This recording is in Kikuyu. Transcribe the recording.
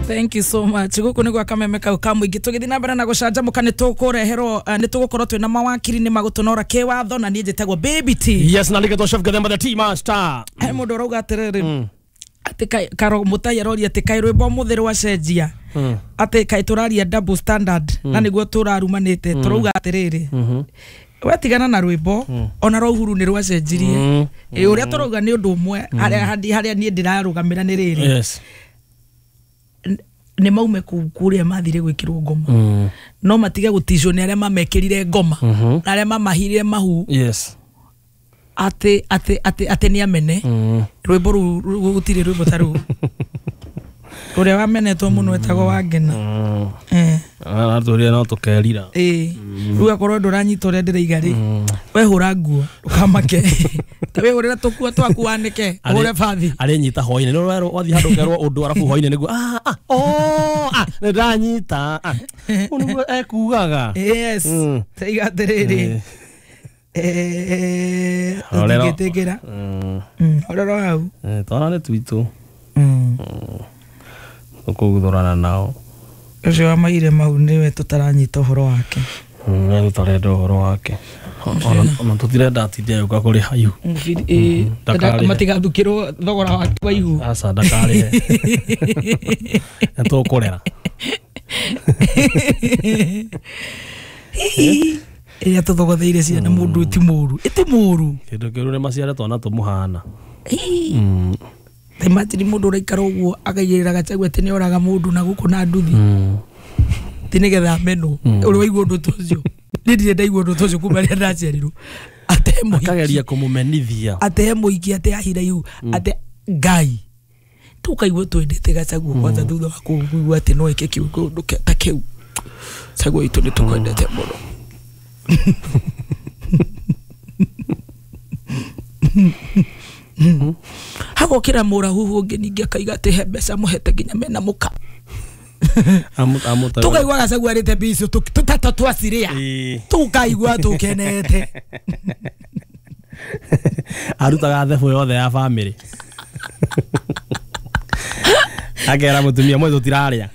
Thank you so much. Guku nĩ gwa kameme kau ka mũingĩ. Tũgĩthiĩ na mbere na gũcanjamũka, nĩ tũkũreherwo, nĩ tũgũkorwo twĩna mawakiri nĩ magũtũnora kĩwatho, na niĩ njĩtagwo Baby T. Yes, na nĩgetwo Chef Gathemba the Tea Master. He mũndũ ũrauga atĩrĩrĩ, atĩ karo mũtai aroria atĩ kaĩ rwĩmbo mũthĩ rwacenjia, atĩ kaĩ tũraria double standard na nĩguo tũrarumanĩte. Tũrauga atĩrĩrĩ, wetigana na rwĩmbo ona rwa Uhuru nĩ rwacenjirie. Ĩ, ũrĩa tũrauga nĩ ũndũ ũmwe, harĩa niĩ ndĩrarũgamĩra nĩ rĩrĩ, nĩ maume kũu kũrĩa mathire gwĩkĩrwo ngoma, no matige gũticwo nĩ arĩa mamekĩrire ngoma na arĩa mamahirire mahu, atĩ nĩ amene. Rwĩmbo rũu gũtirĩ rwĩmbo ta rũu. Ũrĩa wamenetwo mũno etagwo Wangena. Eh. Aratwĩrire no tũkerira. Ĩĩ, rĩu akorwo ndũranyita ũrĩa ndĩraiga rĩ, wehũra nguo ndũkamake, ta wĩhũrĩre tũkuo twaku wanĩke, ũhũre bathi. Arĩ nyita hwainĩ nĩ ũrerwo wathiĩ handũ ũkerwo ũndũ, arabu hwainĩ nĩguo ah ah oh ah nĩ ndanyita, ah ũũ nĩguo ekugaga. Yes. Taiga atĩrĩrĩ, Horero. tũtingĩtĩkĩra. Horero hau. Twana nĩ twitũ, tũkũguthũrana nao. Ũcio wa maire mau nĩwe tũtaranyita ũhoro wake. We tũtarenda ũhoro wake. Ona tũtirenda atinde agĩũka kũrĩha ihu. Ndakarĩhe. Matigathukĩrwo thogora wake wa ihu. Aca, ndakarĩhe, nĩ tũkũrera. Ĩrĩa tũthogotheire ciana mũndũ ti mũru, ĩti mũru. Kĩndũ kĩũru nĩ maciare twana tũmũhana. Imagine mũndũ ũraikara ũguo akaigĩrĩra Gachagua atĩ nĩ oraga mũndũ na gũkũ na nduthi, ti nĩgetha amenwo. Ũrĩ waigua ũndũ ta ũcio? Niĩ ndirĩ ndaigua ũndũ ta ũcio kuma rĩrĩa ndaciarirwo, ate mũhiki. Akageria kũmũmenithia. Ate mũhiki, ate ahira ihu, ate Ngai. Tũkaigua twendete Gachagua kwanza thutha wa kũigua atĩ no eke kĩũndũ ta kĩu. Gachagua witũ, nĩ tũkwendete mũno. Hagokĩra mũrahuhu ũngĩ ningĩ akaiga atĩ he mbeca mũhete nginya mena mũka. Tũkaigua Gachagua arĩte mbia icio tũtatũ twaciria, tũkaigua tũkenete. Arutaga thebũ yothe ya bamĩrĩ, akera mũtumia mwe tũtirarĩa.